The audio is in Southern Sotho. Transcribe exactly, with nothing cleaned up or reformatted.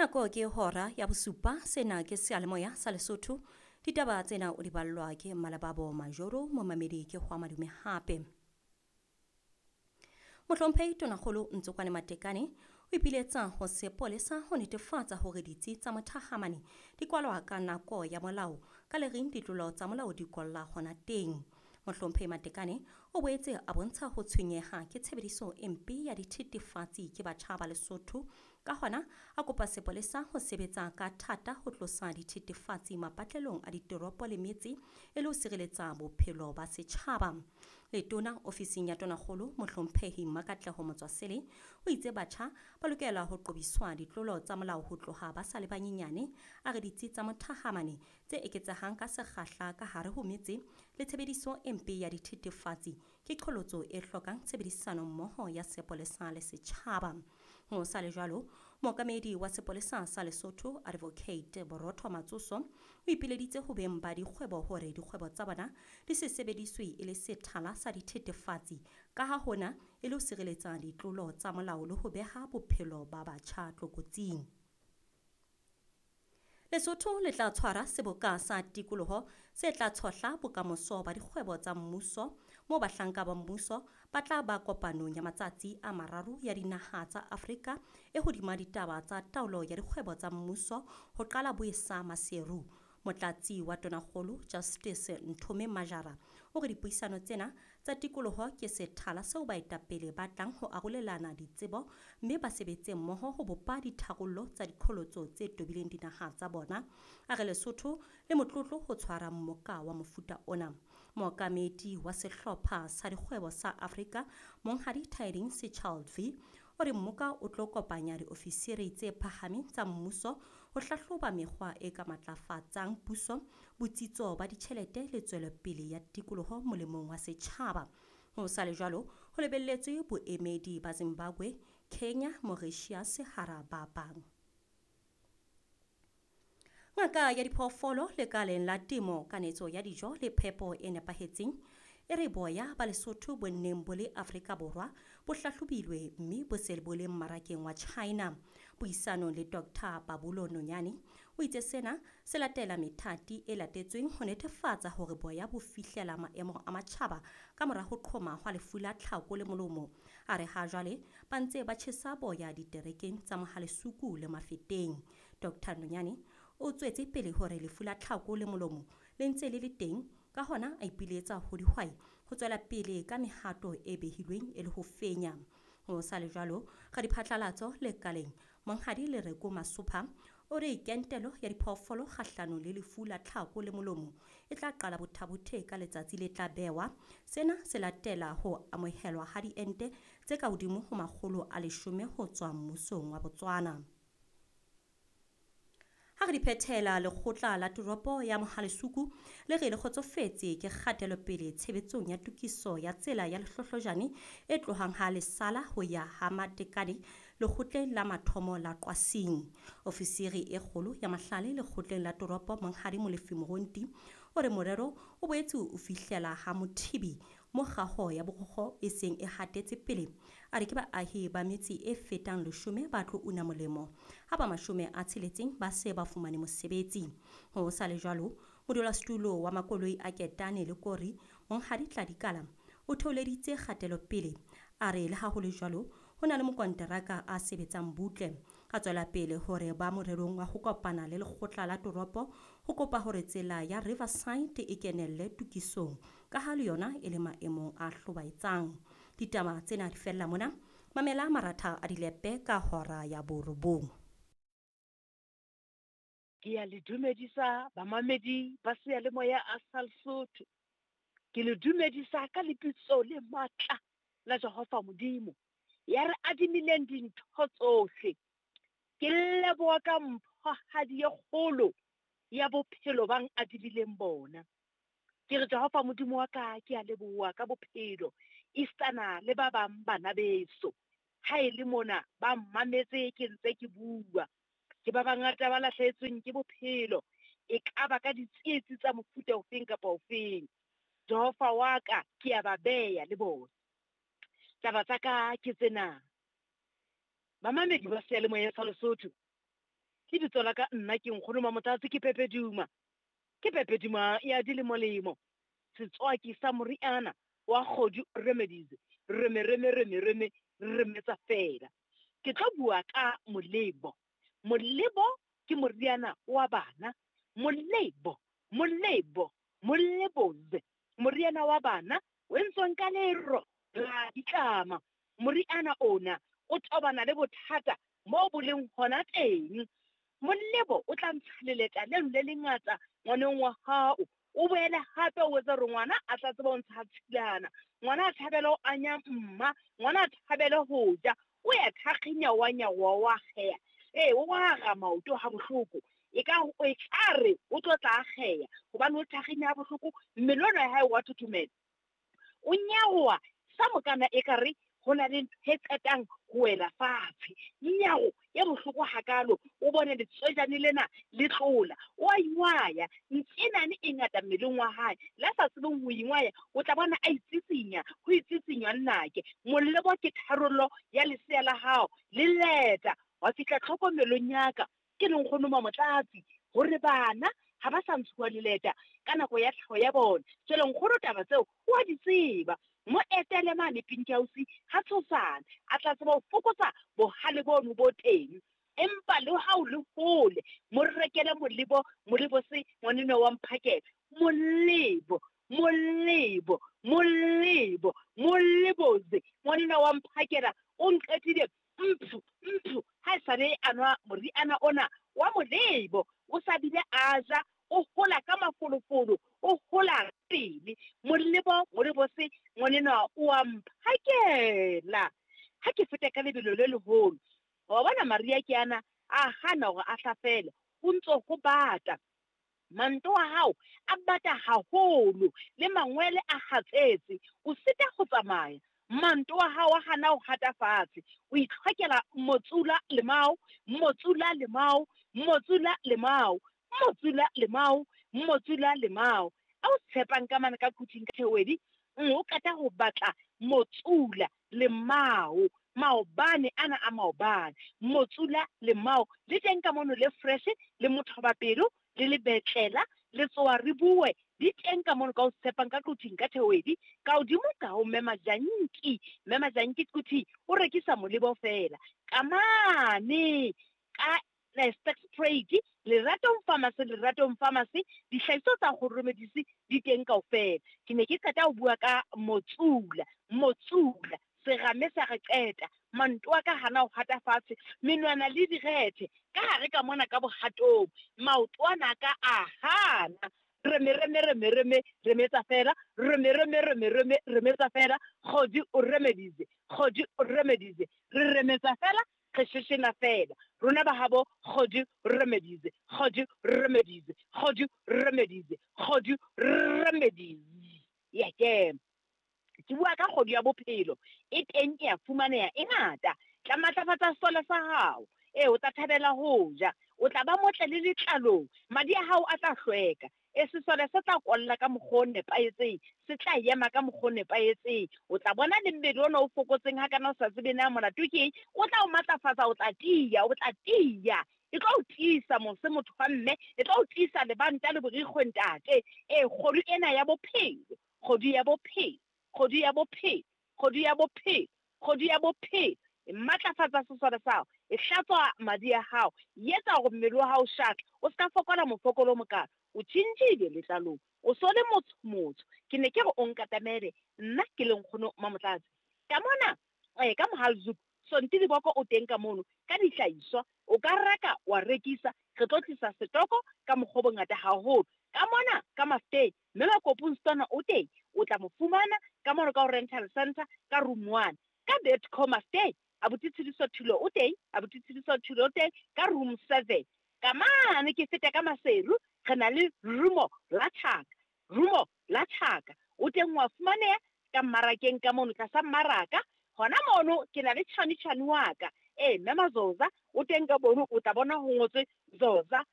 Nako ke hora ya bosupa, sena ke seyalemoya sa Lesotho. Ditaba tsena o di ballwa ke Malababo Majoro, momamedi ke hwa madume hape. Mohlomphehi Tonakgolo Ntsokwane Matekane o ipiletsa ho sepolesa ho netefatsa hore ditsi tsa mothahamane di kwalwa ka nako ya molao ka le reng ditlolo tsa molao di kolla hona teng. Mohlomphehi Matekane o boetse a bontsha ho tshwenyeha ke tshebediso e mpe ya dithethefatsi ke batjha ba Lesotho. Ka hona a kopa sepolesa ho sebetsa ka thata ho tlosa dithethefatsi mapatlelong a ditoropo le metse e le ho sireletsa bophelo ba setjhaba. Letona ofising ya Tonakgolo Mohlomphehi Makatleho Motswasele o itse batjha ba lokela ho qobiswa ditlolo tsa molao ho tloha ba sa le banyenyane. A re ditsi tsa mothahamane tse eketsehang ka sekgahla ka hare ho metse le tshebediso e mpe ya dithethefatsi ke qholotso e hlokang tshebedisano mmoho ya sepolesa le setjhaba. Ho sa le jwalo, mookamedi wa sepolesa sa Lesotho Advocate Borotho Matsoso o ipileditse ho beng ba dikgwebo hore dikgwebo tsa bona di se sebediswe e le sethala sa dithethefatsi ka ha hona e le ho sireletsa ditlolo tsa molao le ho beha bophelo ba batjha tlokotsing. Lesotho le tla tshwara seboka sa tikoloho se tla tshohla bokamoso ba dikgwebo tsa mmuso moo bahlanka ba mmuso ba tla ba kopanong ya matsatsi a mararo ya dinaha tsa Afrika e hodima ditaba tsa taolo ya dikgwebo tsa mmuso ho qala boesa Maseru. Motlatsi wa Tonakgolo Justice Nthome Majara o re dipuisano tsena tsa tikoloho ke sethala seo baetapele ba tlang ho arolelana ditsebo mme ba sebetse mmoho ho bopa ditharollo tsa diqholotso tse tobileng dinaha tsa bona. A re Lesotho le motlotlo ho tshwara mmoka wa mofuta ona. Mookamedi wa sehlopha sa dikgwebo sa Afrika Monghadi Tidings Sechalvi o re mmoka o tlo kopanya diofisiri tse phahameng tsa mmuso ho hlahloba mekgwa e ka matlafatsang puso, botsitso ba ditjhelete le tswelopele ya tikoloho molemong wa setjhaba. Ho sa le jwalo, ho lebelletswe boemedi ba Zimbabwe, Kenya, Mauritius hara ba bang. Ngaka ya diphoofolo lekaleng la temo, kanetso ya dijo le phepo e nepahetseng e re boya ba Lesotho bo nneng bo le Afrika Borwa bo hlahlobilwe mme bo se bo le mmarakeng wa China. Puisanong le Doctor Pabulo Nonyane o itse sena se latela methati e latetsweng ho netefatsa hore boya bo fihlela maemo a matjhaba ka mora ho qhoma hwa lefu la tlhako le molomo. A re ha jwale ba ntse ba tjhesa boya diterekeng tsa Mohalesuku le Mafeteng. Doctor Nonyane o tswetse pele hore lefu la tlhako le molomo le ntse le le teng, ka hona a ipiletsa ho dihwai ho tswela pele ka mehato e behilweng e le ho fenya. Ho sa le jwalo, radiphatlalatso lekaleng Monghadi Lereko Masopha o re kentelo ya diphoofolo kgahlanong le lefu la tlhako le molomo e tla qala Bothabothe ka letsatsi le tla bewa. Sena se latela ho amohelwa ha diente tse ka hodimo ho makgolo a leshome ho tswa mmusong wa Botswana. Ha re di phethela, lekgotla la toropo ya Mohalesuku le re le kgotsofetse ke kgatelopele tshebetsong ya tokiso ya tsela ya Lehlohlojane e tlohang ha Lesala ho ya ha Matekane lekgotleng la mathomo la Qwasing. Ofisiri e kgolo ya Mahlale lekgotleng la toropo Monghadi Molefi Moronti o re morero o boetse o fihlela ha Mothibi mo kgaho ya borokgo e seng e hatetse pele. A re ke baahi ba metse e fetang leshome ba tlo una molemo ha ba mashome a tsheletseng ba se ba fumane mosebetsi. Ho sa le jwalo, modulasetulo wa makoloi a Ketane le Kori Monghadi Tladikala o theoleditse kgatelopele. A re le ha ho le jwalo, ho na le mokonteraka a sebetsang butle. A tswela pele hore ba morerong wa ho kopana le lekgotla la toropo ho kopa hore tsela ya Riverside e kenelle tokisong ka ha le yona e le maemong a hlobaetsang. Ditaba tsena di fella mona. Mamela maratha a dilepe ka hora ya borobong. Ke ya le dumedisa bamamedi ba seyalemoya a sa Lesotho. Ke le dumedisa ka lebitso le matla la Jehova Modimo ya re adimileng dintho tsohle. Ke leboha ka mphohadi e kgolo ya bophelo bang adimileng bona. Ke re Jehova Modimo wa ka, ke a leboha ka bophelo istana le ba bang bana beso. Ha e le mona ba mmametse ke ntse ke bua. Ke ba bangata ba lahlehetsweng ke bophelo, e ka ba ka ditsietsi tsa mofuta ofeng kapa ofeng. Jehova wa ka, ke a ba beya le bona. Taba tsa ka ke tsena. Bamamedi ba seyalemoya sa Lesotho, Lebitso la ka nna ke Nkgono Mamotlatsi, ke Pepe Duma. Ke Pepe Duma ya dilemolemo. Setswaki sa moriana wa Kgodu Remedies. Reme reme reme reme remetsa fela. Ke tlo bua ka molebo. Molebo ke moriana wa bana. Molebo, molebo, moleboze. Moriana wa bana o entsweng ka lero la ditlama. Moriana ona o tobana le bothata mo bo leng hona teng. Molebo o tla ntsha leleta leno le lengata ngwaneng wa hao. O boele hape o etse hore ngwana a tla tseba ho ntsha tshilana. Ngwana a thabele ho anya mma, ngwana a thabele ho ja. O ya thakginya wa nyawa wa kgeya. Ee, o ara maoto ha bohloko. E ka o e tlare o tlo tla kgeya hobane o thakginya ha bohloko, mmele ona wa hae wa thothomela. O nyawa sa mokana ekare ho na le ntho e qetang ho wela fatshe. Nyawo ya bohloko hakalo, o bone letswejane lena le tlola. O a ingwaya, ntsenane e ngata mmeleng wa hae. La sa tsebeng ho ingwaya, o tla bona a itsitsinya, ho itsitsinywa nnake. Molebo ke tharollo ya lesea la hao, le leta wa fihla tlhokomelong ya ka. Ke le Nkgono Mamotlatsi hore bana ha ba sa ntshuwa leleta ka nako ya tlhaho ya bona. Jwale nkgono taba tseo o a di tseba. Mo etele mane Pink House ha tshosane, a tla tseba ho fokotsa bohale bono bo teng. Empa le ha o le hole, mo rekele molebo, molebo se ngwaneno wa mphakela. Molebo, molebo, molebo, moleboze ngwaneno wa mphakela o nqetile mphu, mphu. Ha esale a nwa moriana ona wa molebo, o sa bile a ja, o hola ka mafolofolo, o hola pele. Molebo, molebo se ngwaneno wa mphakela. Ha ke feta ka lebelo le leholo, wa bona Maria ke ana a hana hore a hlafele, o ntso ho bata. Manto a hao a bata haholo, le mangwele a hatsetse, o sita ho tsamaya. Manto a hao a hana ho hata fatshe, o itlhokela motsula lemao, motsula lemao, motsula lemao, motsula lemao, motsula lemao. A o tshepang ka mane ka kuting ka thewedi, o qeta ho batla motsula lemao. Maobane ana a maobane, motsula lemao le teng ka mono, le fresh le mothobapelo le lebetlela le tsoa re bue di teng ka mono ka o tshepang ka kuting ka thewedi. Ka hodimo ka ho Mme Majanki, Mme Majanki kuthi o rekisa molebo fela. Ka mane ka Sterkspruit, Leratong Pharmacy, Leratong Pharmacy, dihlahiswa tsa Kgodu Remedies di teng kaofela. Ke ne ke qeta ho bua ka motsula, motsula serame sa re qeta, manto a ka hana ho hata fatshe, menwana le direthe ka hare ka mona ka bohatong, maoto ana ka a hana. Reme reme reme reme remetsa fela, reme reme reme reme remetsa fela. Kgodu o Remedies, Kgodu o Remedies, re remetsa fela, re sheshena fela. Rona ba habo Kgodu Remedies, Kgodu Remedies, Kgodu Remedies, Kgodu Remedies. Ya ke ke bua ka kgodu ya bophelo, e teng e a fumaneha e ngata. Tla matlafatsa sesole sa hao. Ee, o tla thabela ho ja, o tla ba motle le letlalong, madi a hao a tla hlweka. E sesole se tla kolla ka mokgwa o nepahetseng, se tla ema ka mokgwa o nepahetseng. O tla bona le mmele ona o fokotseng ha kana o sa tsebe na molato ke eng, o tla o matlafatsa, o tla tiya, o tla tiya. E tlo o tiisa mose motho wa mme, e tlo o tiisa lebanta le borikgwe ntate. Ee, kgodu ena ya bophelo, kgodu ya bophelo, kgodu ya bophelo, kgodu ya bophelo, kgodu ya bophelo. E matlafatsa sesole sa hao, e hlatswa madi a hao, e etsa hore mmele wa hao o shatle, o ska fokola mofokolo o mokalo. O tjhentjhile letlalong, o so le motho motho. Ke ne ke re o nkatamele, nna ke le Nkgono Mamotlatsi. Ka mona, eh, ka Mohalzuk, Sonti Diboko o teng ka mono, ka dihlahiswa, o ka reka wa rekisa, re tlo tlisa setoko ka mokgwa o bongata haholo. Ka mona, ka Mafteng, mme Makopong Stona o teng, o tla mo fumana ka mono ka ho rental center ka room one. Ka Betco Mafteng, abuti Tshidiso Thulo o teng, abuti Tshidiso Thulo o teng ka room seven. Ka mane ke feta ka Maseru, re na le rumo la tjhaka, rumo la tjhaka. O teng wa fumaneha ka mmarakeng ka mono tlasa mmaraka. Hona mono ke na le tjhani tjhani wa ka. Ee, Mme Mazoza o teng ka bono, o tla bona ho ngotswe Zoza